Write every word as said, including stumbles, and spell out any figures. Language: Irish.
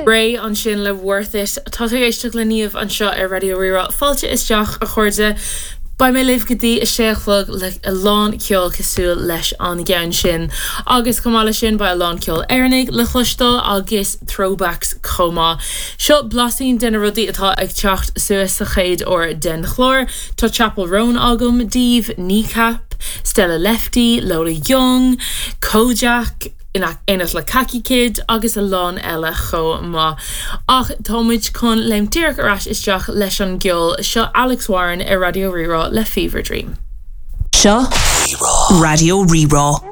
Raye ansin le Worth It tá tú ag éisteacht le Niamh anseo ar Raidió Rí-Rá fáilte isteach a chairde. Beidh mé libh go dtí a sé a chlog le a lán ceol cosúil leis an gceann sin. Agus chomh maith le sin beidh a lán ceol Éireannach le cloisteáil agus throwbacks chomh maith. Seo blaisín de na rudaí atá ag teacht suas sa chéad uair den chlár, Tá Chappell Roan agam daoibh Kneecap, Stella Lefty, Lola Young, Kojaque, in éineacht le Kaki Kid agus a lán eile chomh maith. Ach táimid chun léim díreach ar ais isteach leis an gceol seo Alex Warren ar Raidió Rí-Rá le Fever Dream. Seo Raidió Rí-Rá.